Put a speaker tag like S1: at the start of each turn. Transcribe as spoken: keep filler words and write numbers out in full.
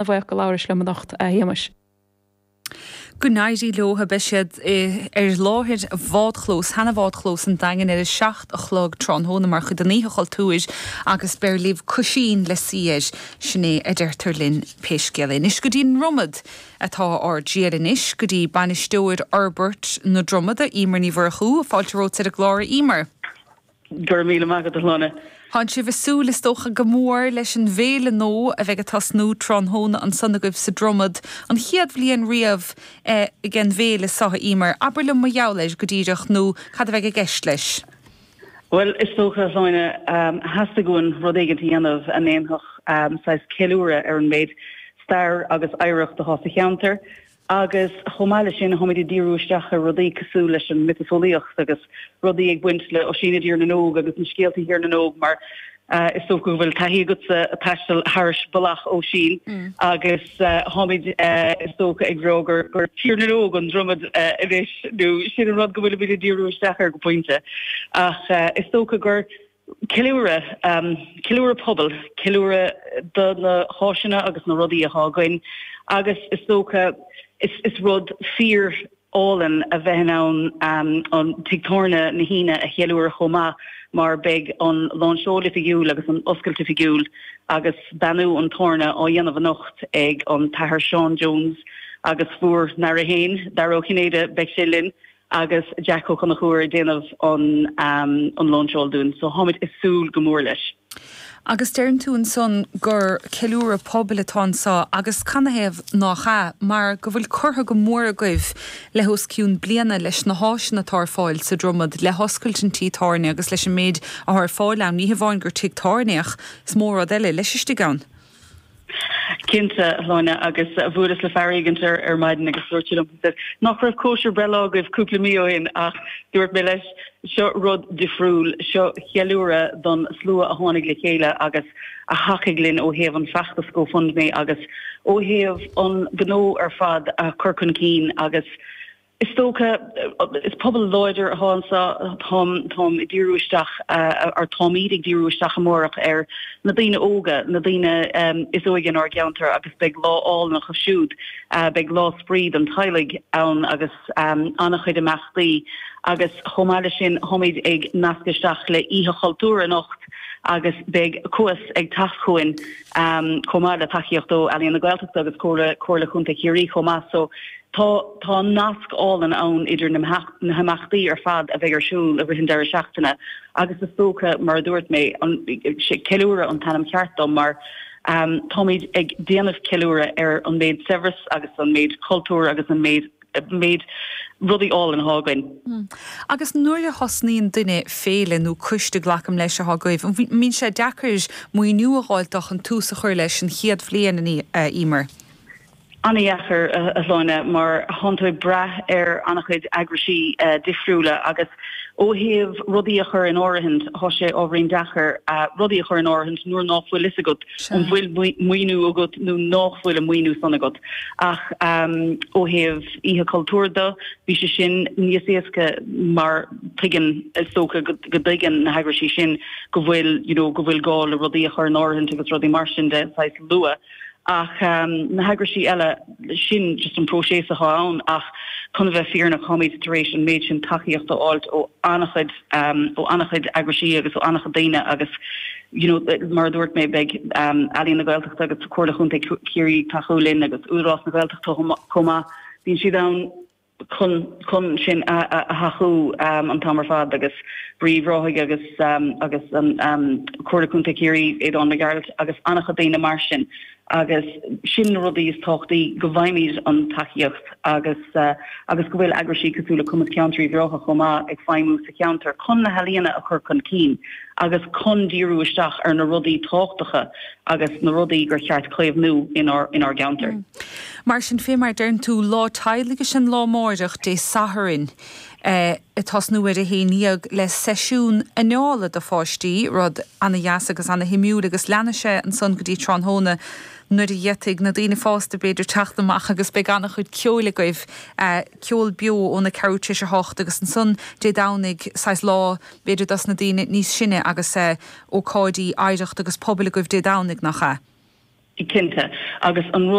S1: An-bhuíoch go labhrais liom anocht, a Shéamais.
S2: Go n-éirí leo. Beidh siad ar láthair bhádchlós, sheana-bhádchlós an Daingin ar a seacht a chlog tráthnóna mar chuid den Oíche Chultúir agus beir libh coisín le suí air, sin é a deirtear linn pé scéal é. Anois go dtí an Dromad atá ár dtriall anois, go dtí Bainisteoir Fhorbairt na Dromada, Emer Ní Mhurchú. Fáilte romhat ar an gclár, a Emer.
S3: Go raibh míle maith agat, a Shláine.
S2: Tánn sibh ag súil is dócha go mór leis an bhféile nua a bheidh ag tosnú tráthnóna ansan agaibh sa Dromad, an chéad bhliain riamh ag an bhféile seo, a Emer. Abair liom mar gheall air go díreach nó cad a bheidh i gceist leis?
S3: Bhuel, is dócha, a Shláine, theastaigh uainn rud éigin a dhéanamh a ndéanfadh saghas ceiliúradh ar an méid stair agus oidhreacht atá sa cheantar. Agus chomh maith leis sin, táimid ag díriú isteach ar rudaí cosúil leis an miotaseolaíocht agus rudaí ag baint le Oisín i dTír na nÓg agus na scéalta Thír na nÓg mar is dócha go bhfuil taithí agatsa ag taisteal thairis bealach Oisín agus táimid is dócha ag rá gur gur Tír na nÓg an Dromad anois nó sin an rud go bhfuilimid ag díriú isteach air go pointe. Ach is dócha gur Ceiliúradh, ceiliúradh pobail, ceiliúradh do na háiseanna agus na rudaí atá againn agus is dócha is is rud fíor álainn a bheith in ann an tigh tábhairne na hAoine a cheiliúradh chomh maith mar beidh an láinseáil oifigiúil agus an oscailt oifigiúil agus beannú an tábhairne á dhéanamh anocht ag an tAthair Seán Jones agus bhur n-aire féin, Dara Ó Cinnéide, beidh sé linn. agus Jack Ó Conchúir ag déanamh an an lainseáil dúinn so táimid ag súil go mór leis.
S2: Agus deireann tú ansan gur ceiliúradh pobail atá anso agus canathaobh nach ea, mar go bhfuil curtha go mór agaibh le hos cionn bliana leis na háiseanna atá ar fáil sa Dromad, le hoscailt an tí tábhairne agus leis an méid atá ar fáil ann, ní hamháin gur tigh tábhairne ach is mó rud eile leis istigh ann.
S3: Cinnte, a Shláine, agus bhuaileas le fear éigint ar ar maidin agus dúirt sé liom nach raibh cóisir breithlá agaibh cúpla mí ó shin ach dúirt mé leis, seo rud difriúil, seo ceiliúradh don slua a tháinig le chéile agus a thacaigh linn ó thaobh an feachtas GoFundMe agus ó thaobh an gnó ar fad a chur chun cinn agus Is dócha, is pobal láidir atá anseo, táim, táim ag díriú isteach, or táimid ag díriú isteach amárach ar na daoine óga, na daoine is óige inár gceantar agus beidh lá álainn acu siúd, beidh lá spraoi don teaghlaigh ann agus an-chuid imeachtaí agus chomh maith leis sin táimid ag nascadh isteach le Oíche Chultúir anocht agus beidh Cuas ag teacht chugainn chomh maith le tacaíocht ó Ealaíon na Gaeltachta agus Comhairle, Comhairle Chontae Chiarraí chomh maith so Tá tá nasc álainn ann idir na na himeachtaí ar fad a bheidh ar siúl i rith an deireadh seachtaine agus is dócha, mar a dúirt mé, an ceiliúradh an t-ainm ceart dom mar táimid ag déanamh ceiliúradh ar an méid saibhreas agus an méid cultúr agus an méid méid rudaí álainn atá againn.
S2: Agus nuair a thosnaíonn duine féile nó coiste, glacaim leis, atá agaibh, an mbíonn sé deacair maoiniú a dh'fháilt dó chun tús a chur leis an chéad bhliain, a Emer?
S3: An-dheacair, a Shláine, mar tánn tú ag brath ar an-chuid eagraisí difriúla agus ó thaobh rudaí a chur in áirithint, tá sé ábhairín deacair rudaí a chur in áirithint nuair ná fuil fhios agat an bhfuil maoiniú agat nó nách bhfuil an maoiniú san agat. Ach ó thaobh Oíche Chultúir de, bhí sé sin níos éasca mar tuigeann, is dócha go dtuigeann na heagraisí sin go bhfuil, you know, go bhfuil gá le rudaí a chur in áirithint agus rudaí mar sin de, saghas luath. Ach na heagraisí eile, sin just an próiseas atá ann ach chun a bheith fírinneach táimid tar éis an méid sin tacaíocht a fháilt ó an-chuid, ó an-chuid eagraisí agus ó an-chuid daoine agus you know mar a dúirt mé beidh Ealaíon na Gaeltachta agus Comhairle Chontae Chiarraí ag tacú linn agus Údarás na Gaeltachta chomh maith, bíonn siad ann. chun chun sinn a thacú an t-am ar fad agus Brí Uíbh Ráthaigh agus agus an Comhairle Contae Chiarraí, Aodán Mac Gearailt agus an-chuid daoine mar sin agus sin na rudaí is tábhachtaí go bhfaighimid an tacaíocht agus agus go bhfuil eagraisí cosúil le Cumas Ceantair Uíbh Ráthaigh chomh maith ag feidhmiú sa cheantar chun na healaíona a chur chun cinn agus chun díriú isteach ar na rudaí tábhachtacha agus na rudaí gur cheart caomhnú inár inár gceantar.
S2: Mar sin féin, mar a deireann tú, lá teaghlaigh is ea an lá amáireach, Dé Sathairn, ag tosnú ar a haon dhéag le seisiún anála do pháistí, rud ana-dheas agus ana-shuimiúil agus leanfaidh sé ansan go dtí tráthnóna nuair a d'fhéadfaidh na daoine fásta b'fhéidir teacht amach agus beidh ana-chuid ceoil agaibh, ceol beo óna ceathrú tar éis a hocht agus ansan Dé Domhnaigh saghas lá b'fhéidir dos na daoine níos sine agus ócáidí oidhreachta agus pobail agaibh Dé Domhnaigh, nach ea?
S3: Cinnte agus an